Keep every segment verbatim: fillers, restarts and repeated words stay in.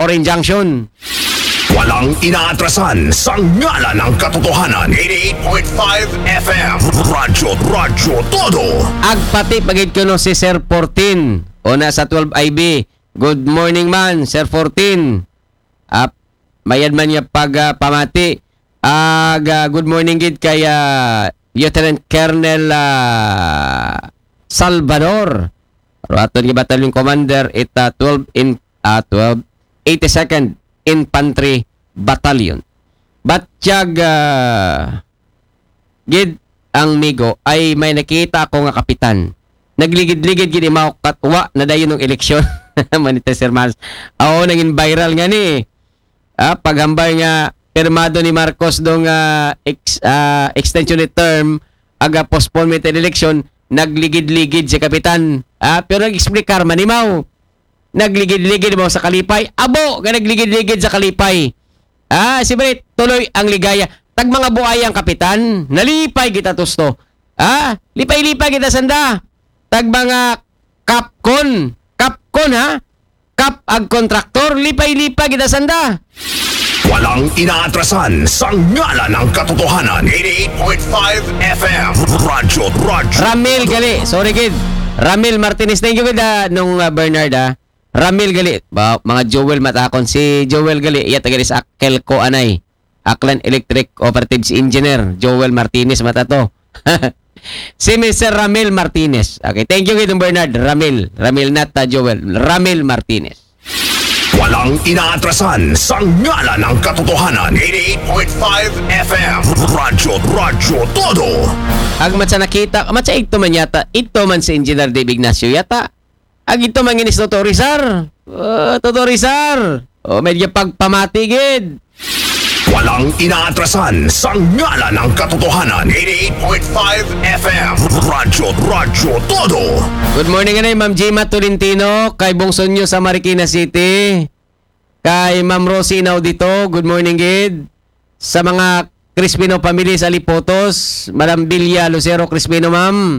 Orange Junction. Walang inaatrasan sa ngalan ng katotohanan. Eighty-eight point five F M. Radyo, Radyo Todo. Agpati pagid ko no si Sir fourteen. O na sa twelve I B. Good morning man, Sir fourteen. Ap, mayad man niya pag ah, pamati. Ag ah, good morning gid kay ah, Lieutenant Colonel ah, Salvador. Ruaton nga Battalion Commander ita twelve in ah, twelve eighty-second Infantry Battalion. Batyag ah, gid ang migo ay may nakita ako nga kapitan. Nagligid-ligid gid imaw katwa na dayon ng eleksyon. Manita Sir Mars. Oo, naging viral nga ni. Ah, paghambal nga pirmado ni Marcos dong ah, ex, ah, extension ni term aga postponement ng election, nagligid-ligid si kapitan. Ah, pero nag-explicar manimaw. Nagligid-ligid mo sa kalipay. Abo nga nagligid-ligid sa kalipay. Ah, si Brit, tuloy ang ligaya. Tag mga buayang kapitan, nalipay kita tusto. Ah, lipay-lipay kita sanda. Tag mga kapkon. Kapkon ha? Kap ag kontraktor, lipay-lipay kita sanda. Walang inaatrasan sa ngalan ng katotohanan. Eighty-eight point five F M. Radyo, Radyo. Ramil gali, sorry gid. Ramil Martinez, thank you gid ah, nung ah, Bernard ah. Ramil gali, ba, mga Joel matakon. Si Joel gali, iya taga sa Akelco anay. Aklan Electric Operatives Engineer, Joel Martinez mata to. Si Mister Ramil Martinez. Okay, thank you gid Bernard. Ramil, Ramil not ah, Joel. Ramil Martinez. Walang inaatrasan sa ngalan ng katotohanan. Eighty-eight point five F M. Radyo, Radyo Todo. Ag matsa nakita, matsa igto man yata, igto man si Engineer Dave Ignacio yata. Ag igto man ginis Toto Rizar. Uh, Toto Rizar. O, medyo pagpamati gid. Walang inaatrasan sa ngalan ng katotohanan. Eighty-eight point five F M. Radyo, Radyo Todo. Good morning anay Ma'am Gima Tolentino, kay Bongso nyo sa Marikina City. Kay Ma'am Rosie Inaudito, good morning gid. Sa mga Crispino family sa Lipotos, Madam Bilya Lucero Crispino, ma'am.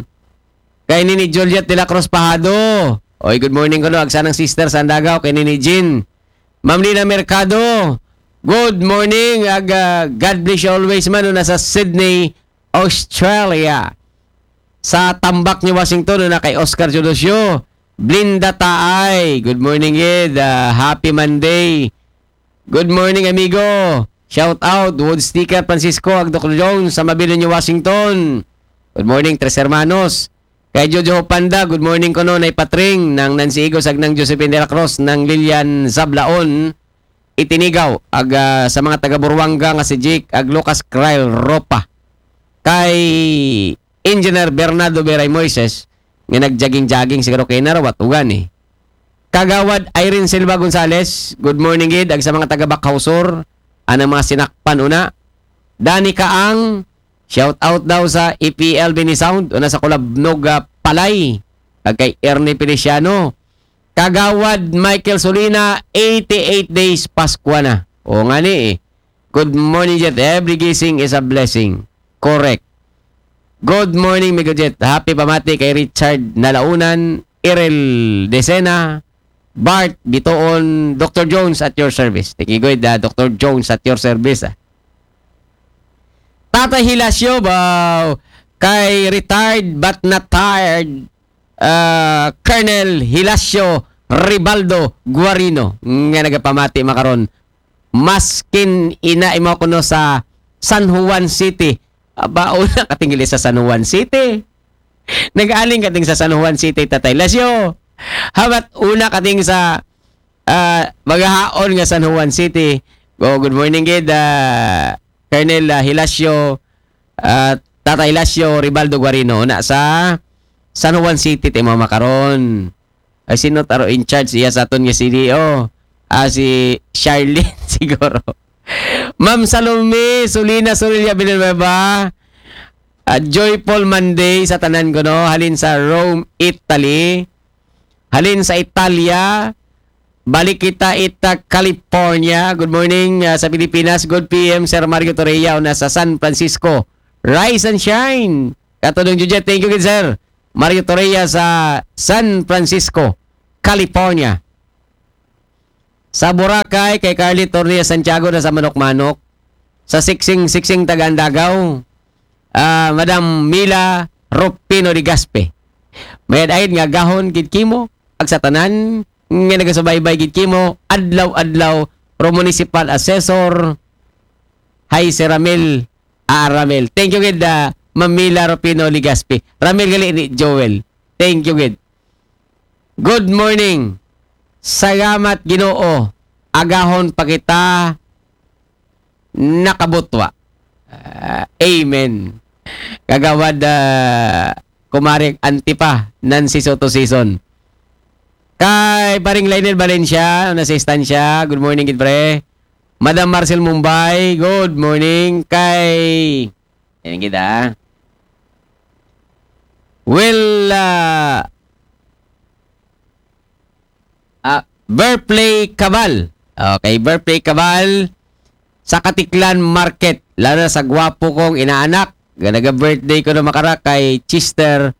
Kay Nini Juliet de la Cruz Pahado. Oy, good morning kuno. Agsanang sister sa Andagaw, kay Nini Jean. Ma'am Lina Mercado, good morning. Ag, ah, God bless you always man. Una sa Sydney, Australia. Sa Tambak ni Washington, una kay Oscar Teodosio. Blinda Taay, good morning gid. Ah, happy Monday. Good morning, amigo. Shout out, Wood Sticker Francisco, ag Doctor Jones, sa Mabilo ni Washington. Good morning, Tres Hermanos. Kay Jojo Panda, good morning kuno, Nay Patring, nang Nancy Igos, ag nang Josephine de la Cruz, nang Lilian Sablaon, Itinigaw, ag ah, sa mga taga Buruanga nga si Jake, ag Lucas Cryle Ropa. Kay Engineer Bernardo Beray Moises, nga nag-jogging-jogging siguro kay narawat ugan eh. Kagawad Irene Silva Gonzales, good morning gid, ag sa mga taga Bacau Sur, anang mga sinakpan una. Dani Kaang, shout out daw sa E P L Bini Sound, una sa Kulabnog ah, Palay, ag kay Ernie Feliciano. Kagawad Michael Solina, eighty-eight days Paskwa na. O nga ni eh. Good morning, Jet. Every gising is a blessing. Correct. Good morning, Migo Jet. Happy pamati kay Richard Nalaunan, Irel Decena, Bart Bitoon, Doctor Jones at your service. Thank you, good, ah, Doctor Jones at your service. Ah. Tata Hilasio, wow. Kay retired but not tired, ah, Colonel Hilasio Ribaldo Guarino, nga nagapamati makaron. Maskin ina imo kuno sa San Juan City. Aba, una kating sa San Juan City. Nag-aling kating sa San Juan City, Tatay Lasio. Habat una kating sa ah, magahaon nga San Juan City. Oh, good morning gid, ah, Colonel ah, Hilasio, ah, Tata Hilasio Ribaldo Guarino na sa San Juan City ti mama karon. Ay sino taro in charge iya sa aton nga C D O? Ah, si Charlene siguro. Ma'am Salome Solina Sorilla Villanueva. Ah, joyful Monday sa tanan kuno, halin sa Rome, Italy. Halin sa Italia, balik kita ita California. Good morning ah, sa Pilipinas. Good P M, Sir Mario Torreya, una sa San Francisco. Rise and shine. Katulong Jujet, thank you gid, Sir Mario Torreya sa San Francisco, California. Sa Boracay, kay Carly Tornia Santiago na sa Manok-Manok. Sa Siksing, Siksing Taga Andagaw, ah, Madam Mila Rupino de Gaspe. Mayad-ayad nga agahon gid kimo, ag sa tanan nga nagasubaybay gid kimo, adlaw-adlaw, pro municipal assessor, hi si Ramil, ah, Ramil. Thank you gid, ah, Ma'am Mila Rupino Legaspi. Ramil gali ni Joel. Thank you gid. Good morning. Salamat Ginoo. Agahon pa kita nakabutwa. Ah, amen. Kagawad, ah, kumare Antipa, Nancy Soto Season. Kay paring Lionel Valencia, na sa istansya. Good morning, gid pre. Madam Marcel Mumbai, good morning. Kay, yan gid, ah. Well, ah, ah, Birthplay Cabal. Okay, Birthplay Cabal sa Katiklan Market. Lalo na sa gwapo kong inaanak. Ganaga birthday ko na makara kay Chester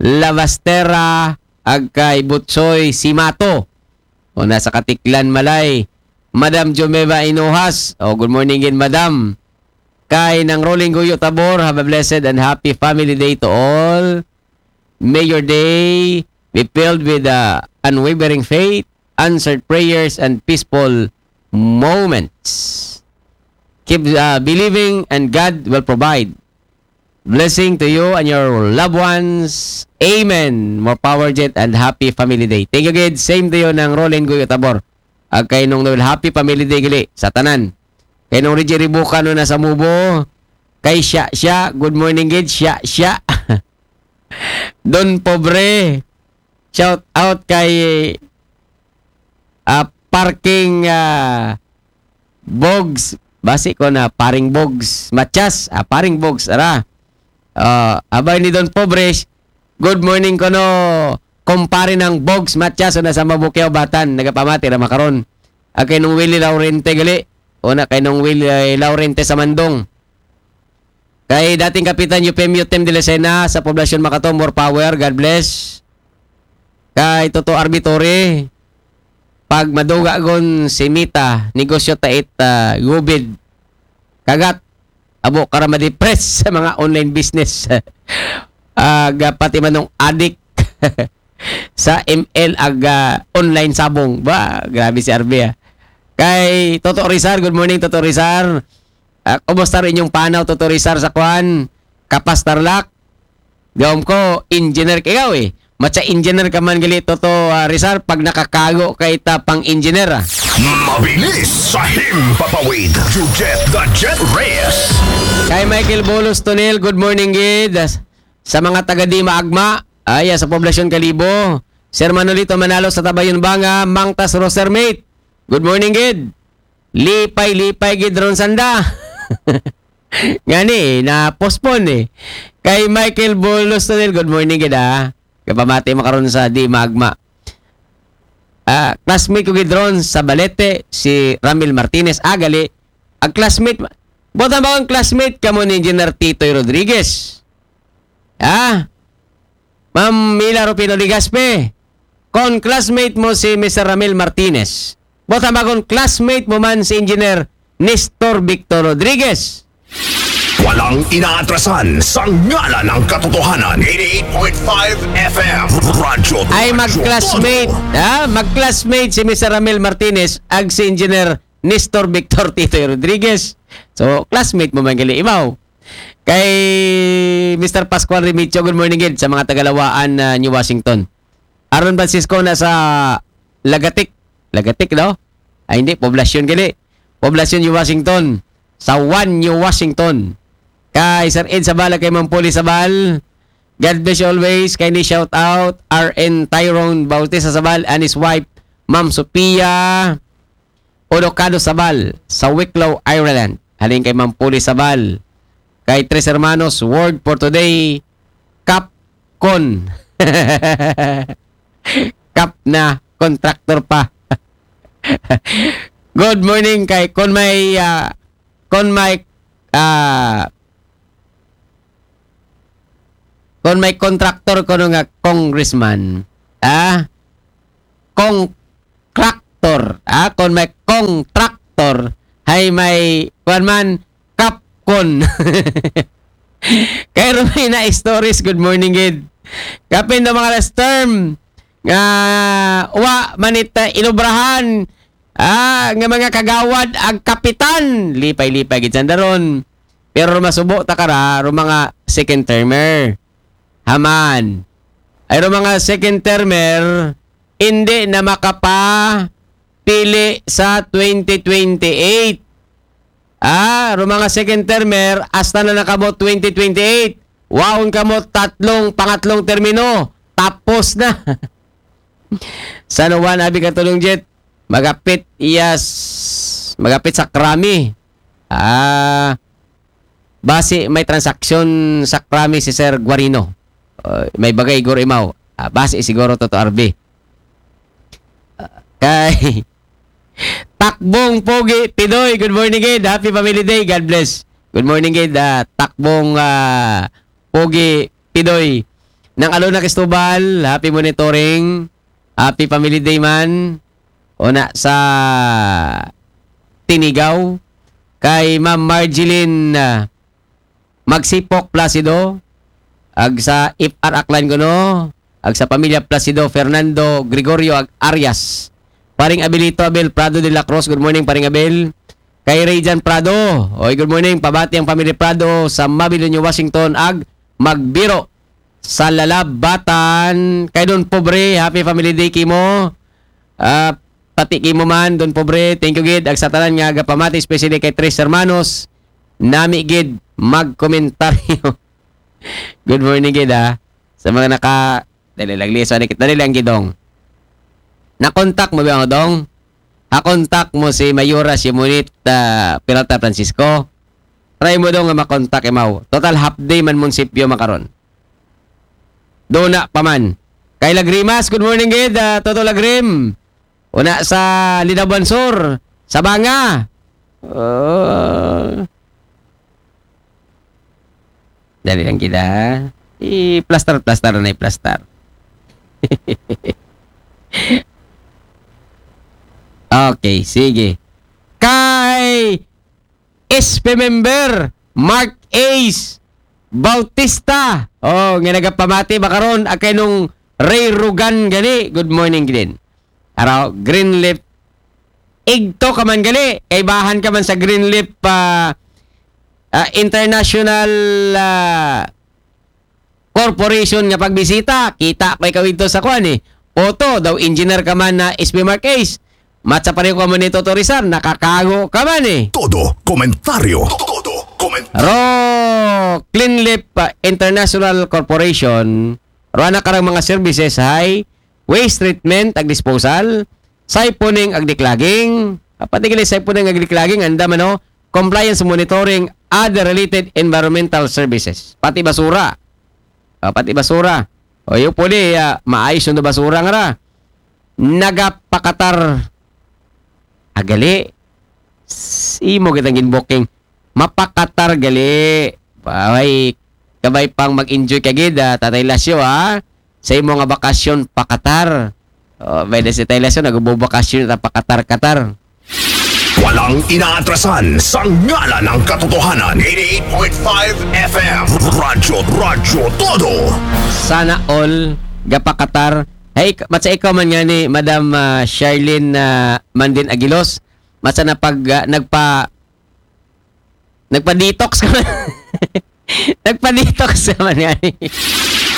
Lavastera ag kay Butsoy Simato. O nasa Katiklan Malay. Madam Jomeva Inohas. O, good morning gid, Madam. Kay Nang Rolling Guyo Tabor, have a blessed and happy family day to all. May your day be filled with, uh, unwavering faith, answered prayers, and peaceful moments. Keep, uh, believing and God will provide. Blessing to you and your loved ones. Amen. More power, Jet, and happy family day. Thank you, gid. Same to you, Nang Rolling Guyo Tabor. Ag kay Nong Noel, happy family day gali sa tanan. Kay Nong Reggie Ribuca, no, nasa Mubo. Kay siya, siya. Good morning, gid. Siya, siya. Don Pobre. Shout out kay, ah, parking, ah, Bogs. Basi ko na paring Bogs. Matias, ah, paring Bogs, ara. Ah, abay ni Don Pobres. Good morning ko no, kumpare ng Bogs Matias, o nasa Mabukiao, Batan. Nagapamati ra makaron. Ah, kay Nong Willie Laurente gali. O na kay Nong Willie, eh, Laurente sa Mandong. Kay dating Kapitan Eufemio Tem de la Sena sa Poblacion Makato, more power, God bless. Kay Toto Arbitore, pag maduga gon si Mita, negosyo tait, ah, gubid. Kagat, abo ka ra ma-depress sa mga online business. Ah, ga-, pati manong adik sa M L ag, ah, online sabong. Ba, grabe si Arby, ah. Kay Toto Rizar, good morning, Toto Rizar. Ah, kumusta rin yung panaw, Toto Rizar, sa kwan? Kapas Tarlac? Gawam ko, engineer ka ikaw eh. Matsa engineer ka man gali, Toto, ah, Rizar, pag nakakago ka ita pang engineer, ah. Mabilis sa himpapawid. You get the Jet Reyes. Kay Michael Bolos Tonel, good morning, gid. Sa mga taga Dima Agma, ay, sa Poblacion Kalibo. Sir Manolito Manalo sa Tabayon Banga, Mangtas Rosermate. Good morning, gid. Lipay, lipay, gid ron sanda. Ngani, na-postpone eh. Kay Michael Bolos Tonel, good morning, gid, ah. Kapamati mo karon sa Dima Agma. Ah, classmate ko gid ron sa Balete, si Ramil Martinez. Ah, gali. Ang classmate, buta ba ang classmate ka mo ni Engineer Titoy Rodriguez? Ah? Ma'am Mila Rufino Legaspi, kon classmate mo si Mister Ramil Martinez, buta ba kon classmate mo man si Engineer Nestor Victor Rodriguez? Walang inaatrasan sa ngalan ng katotohanan. Eighty-eight point five F M. Radyo Ay, Radyo mag-classmate, Todo. Ha? Mag-classmate si Mister Ramil Martinez ag si Engineer Nestor Victor Titoy Rodriguez. So, classmate mo man gali, imaw. Kay Mister Pascual Remigio, good morning gid sa mga tagalawaan na New Washington. Aaron Francisco na sa Lagatik. Lagatik, no? Ay, hindi. Poblacion gali. Poblacion, New Washington. Sa One, New Washington. Kay Sir Ed Sabal, kay Ma'am Poli Sabal. God bless you always. Kay ni shout out, R N Tyrone Bautista Sabal and his wife, Ma'am Sophia Odocado Sabal, sa Wicklow, Ireland. Halin kay Ma'am Poli Sabal. Kay Tres Hermanos, word for today, Capcon. Kap na, contractor pa. Good morning kay kon may, ah, kon may, ah, kon may contractor ko nga congressman. Ah? Kong crack. contractor. Ah, kon may contractor, hay may, kuwan man, kapkon. Kay Romina Stories, good morning, gid. Kapin do mga last term, nga wa man it, ah, inubrahan, ah, nga mga kagawad ag kapitan. Lipay-lipay gid sanda ron. Pero masubo ta kara, ro mga second termer. Haman. Ay ro mga second termer, hindi na makapapili sa twenty twenty-eight. Ah, ro mga second termer, hasta na nakamo twenty twenty-eight. Waon kamo tatlong, pangatlong termino. Tapos na. San Juan, abi ka Tulong Jet. Magapit, yes. Magapit sa Krami. Ah, basi may transaksyon sa Krami si Sir Guarino. Uh, may bagay guro imaw. Ah, basi siguro totoo, R B. Ah, kay Takbong Pogi Pidoy, good morning, gid. Happy Family Day. God bless. Good morning, gid. Ah, Takbong, ah, Pogi Pidoy. Nang Alona Cristobal, happy monitoring. Happy Family Day man. Una sa Tinigaw. Kay Ma'am Marjeline, ah, Magsipok Placido. Ag sa F R Aklan kuno. Ag sa pamilya Placido, Fernando, Gregorio, ag Arias. Paring Abelito Abel Prado de la Cruz. Good morning, Paring Abel. Kay Rayjan Prado. Oy, good morning. Pabati ang pamilya Prado sa Mabel, Washington. Ag Magbiro sa Lalabatan. Kay Don Pobre, happy family day kimo. Ah, pati kimo man, Don Pobre, thank you gid. Ag sa tanan nga gapamati, especially kay Tres Hermanos, nami gid magkomentaryo. Good morning gid, ha. Sa mga naka, dali lang, liso, dali, dali lang gid, Dong. Nakontak mo ba ako, Dong? Hakontak mo si Mayora Simonit, ah, Peralta Francisco? Try mo, Dong, nga makontak imaw. Total half day man munisipyo makaron. Duna pa man. Kay Lagrimas, good morning gid, ah, Toto Lagrim. Una sa Linabuan Sur, Sabanga. Oh. Dali lang kita. I-plaster, plaster na i-plaster. Okay, sige. Kay S P member, Mark Ace Bautista. Oh, nga nagapamati ba karon, akay nung Ray Rugan gani. Good morning, Glenn. Araw, Greenleaf. Igto ka man gali. Kaibahan ka man sa Greenleaf, ah, ah, International, ah, Corporation nga pagbisita. Kita ko ikaw ito sa kuan eh. Photo, daw engineer ka man na S P Mark Ace. Matsa pareho ka man ni Toto Rizal, nakakago ka man eh. Todo komentaryo. Todo komentaryo. Ro, Cleanleaf, ah, International Corporation, ro ana karang mga services hay waste treatment ag disposal, siphoning ag declogging, ah, pati gali siphoning ag declogging, anda man, oh, compliance monitoring, other related environmental services. Pati basura. Ah, pati basura. O, yung pwede, ah, maayos yung basura nga ra. Nagapakatar. Agali. S-, imo kitang ginbooking. Mapakatar gali. Ay, kabay pang mag-enjoy ka gid, ah, Tatay Lasyo, ah. Sa imo nga bakasyon, pakatar. Oh, may na si Tatay Lasyo, nagbubakasyon na pakatar-katar. Walang inaatrasan sa ngalan ng katotohanan. Eighty-eight point five F M. Radyo, Radyo Todo. Sana all, gapakatar. Hey, ik-, matsa ikaw man nga ni Madam, ah, Charlene, ah, Mandin Aguilos. Matsa na pag, ah, nagpa-, nagpa-detox ka man. Nagpa-detox ka man nga ni.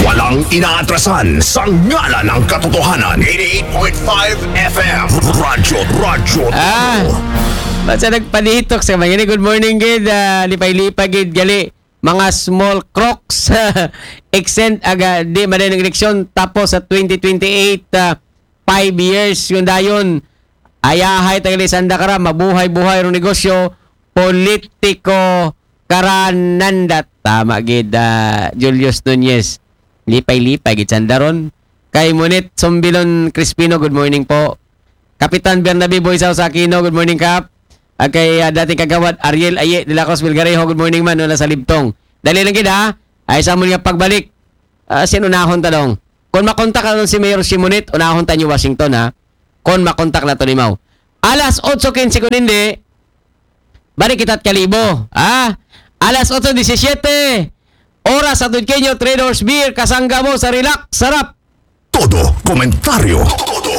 Walang inaatrasan sa ngalan ng katotohanan. Eighty-eight point five F M. Radyo, Radyo Todo. Ah, matsa nagpa-detox ka man nga ni. Good morning, gid. Ah, lipay-lipay, gid. Gali, mga small crocs. Extend aga, di maday ng eleksyon. Tapos sa twenty twenty-eight, ah, five years yung dayon. Ayahay, taga Lisanda kara, mabuhay-buhay rong negosyo, politiko kara nanda. Tama gid, ah, Julius Nunez. Lipay-lipay gid sanda ron. Kay Munit Sombilon Crispino, good morning po. Kapitan Bernabe Boysaw sa Aquino, good morning, Kap. Ah, kay, ah, dating kagawad Ariel Aye de la Cruz Vilgarejo, good morning man, wala sa Libtong. Dali lang gid, ha. Ay, sa amon nga pagbalik. Ah, sin unahon ta dong. Kung makontak ka si Mayor Simonit, unahon ta ni Washington, ha. kon makontak naton imaw. Alas otso kinse kon indi, balik kita kalibo. Ha? Alas otso disisiyete, oras sa Tudkenyo Traders Beer, kasangga mo sa Relax Sarap. Todo komentaryo